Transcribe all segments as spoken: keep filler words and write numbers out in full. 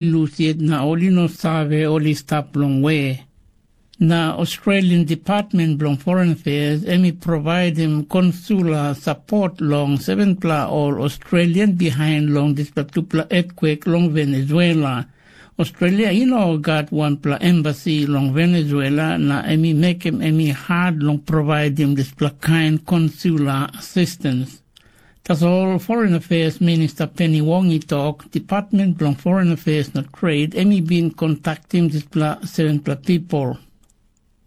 lus yet na ol i no save ol i stap long we. Na Australian Department bilong Foreign Affairs em i provaidim konsula sapot long sevenpela ol Australian bihain long dispela tupela etkwek long Venezuela. Australia i no gat wanpela embasi long Venezuela na em i mekim em i hat long provaidim dispela kain konsula asistens. Tasol Foreign Affairs Minista Penny Wong i tok, Department bilong Foreign Affairs na Trade em i bin kontaktim dispela sevenpela pipel.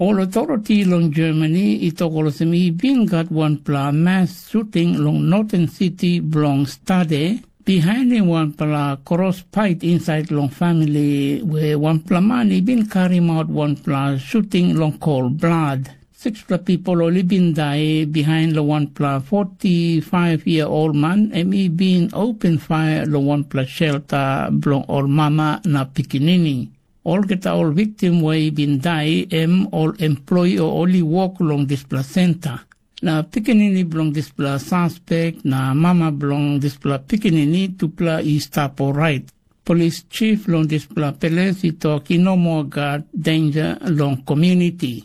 Ol authority long Germany i tok olsem i bin gat wanpela mass shooting long Northern City bilong Stade, bihainim wanpela kros pait insait long famili we wanpela man i bin karim aut wanpela shooting long kol blad. Sikspela pipel ol i bin dai bihain long wanpela forty-five year old man em i bin open fire long wanpela shelter bilong ol mama na pikinini. Olgeta ol viktim we i bin dai em ol employee o ol i wok long dispela senta. Na pikinini bilong dispela suspek na mama bilong dispela pikinini tupela i stap orait. Polis chief long dispela peles i tok i no moa gat denja long komuniti.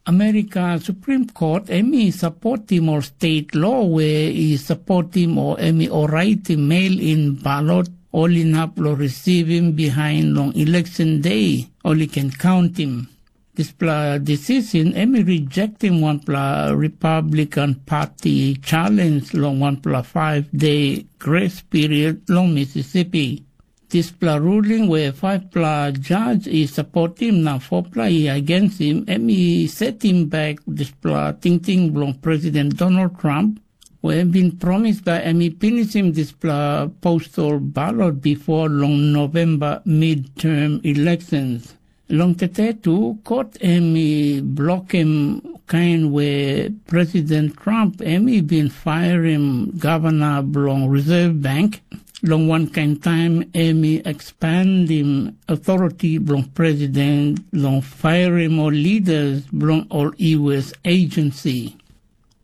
Amerika Supreme Court em i sapotim ol state lo we i sapotim o em i oraitim mail in balot ol inap long risivim bihain long election day ol i ken kauntim. Dispela decision em i rejectim wanpela Republican Party challenge long wanpela five day grace period long Mississippi. Dispela ruling we faipela jas i sapotim na fopela i agensim em i setim bek dispela tingting bilong President Donald Trump, we em bin promis bai em i pinisim dispela postal balot bipo long November midterm elections. Long tete tu, kot em i blokim kain we President Trump em i bin fairim gavana bilong Reserve Bank, long wankain taim em i ekspandim authority bilong president long fairim ol leaders bilong ol U S agency.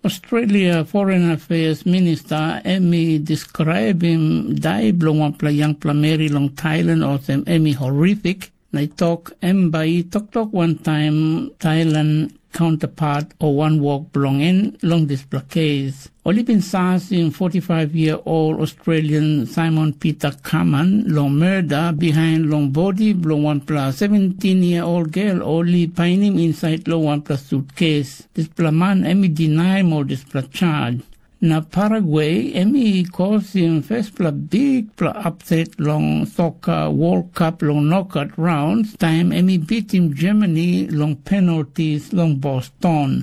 Australia Foreign Affairs Minister em i deskraibim dai bilong wanpela yangpela meri long Thailand olsem em i horrific, na i tok em bai i toktok wantaim Thailand counterpart o wanwok bilong en long dispela kes. Ol i bin sasim forty-five year old Australian Simon Peter Kaman long murder behind long bodi bilong wanpela seventeen year old girl ol i painim inside long wanpela sutkes. Dispela man em i dinaim ol dispela charge. Na Paraguay em i kosim fespela bikpela upset long soka World Cup long knockout rounds taim em i bitim Germany long penalties long Boston.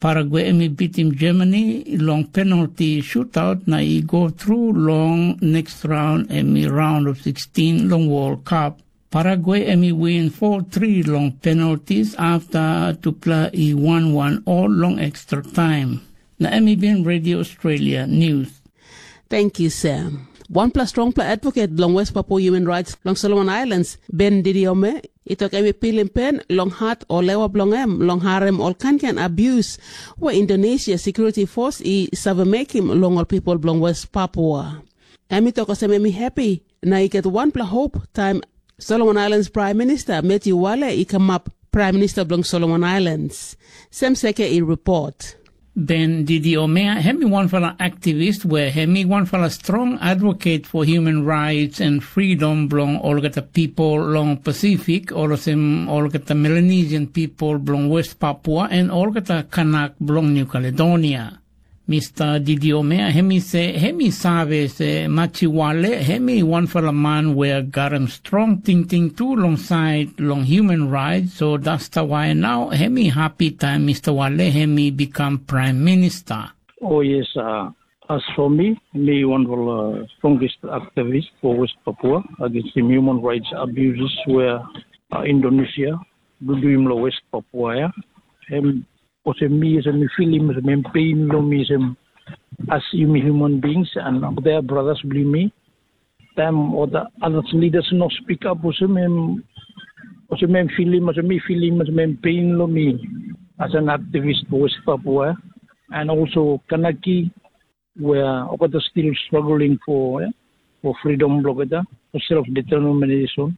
Paraguay em i bitim Germany long penalti shootout na i go tru long next round em i round of sixteen long World Cup. Paraguay em i win four three long penalties afta tupela i wan wan ol long extra time. Na em i bin Radio Australia News. Thank you, Sam. Wanpela strongpela advocate bilong West Papua Human Rights long Solomon Islands, Ben Didiome, i tok em i pilim pen long hat o lewa bilong em long harim ol kainkain abuse we Indonesia Security Force i save mekim long ol pipel bilong West Papua. Em i tok olsem em i happy na i gat wanpela hop taim Solomon Islands Prime Minister Matthew Wale i kamap Prime Minister bilong Solomon Islands. Sem Seke i report. Ben Didi Omea, em i wanpela aktivis we em i wanpela strong advocate for human rights and freedom bilong olgeta people long Pacific, olsem olgeta Melanesian people bilong West Papua and olgeta Kanak bilong New Caledonia. Mr. Didi Omea, em i se, em i save se Machiwale, em i wanpela man we garim strong tingting tu long sait long human rights, so dasta wai nau em i happy taim Mr. Wale em i become prime minister. Oh yes, uh, as for me, me one of the strongest activists for West Papua against the human rights abuses where uh, Indonesia do do him lo West Papua. Yeah? Em olsem mi olsem mi filim olsem em pain long mi olsem as yumi human beings and other brothers bilong mi. Taim ol the other leaders no speak up olsem em olsem em filim olsem mi filim olsem em pain long mi as an activist for West Papua and also Kanaki where olgeta still struggling for yeah, for freedom bilong olgeta. Self determination.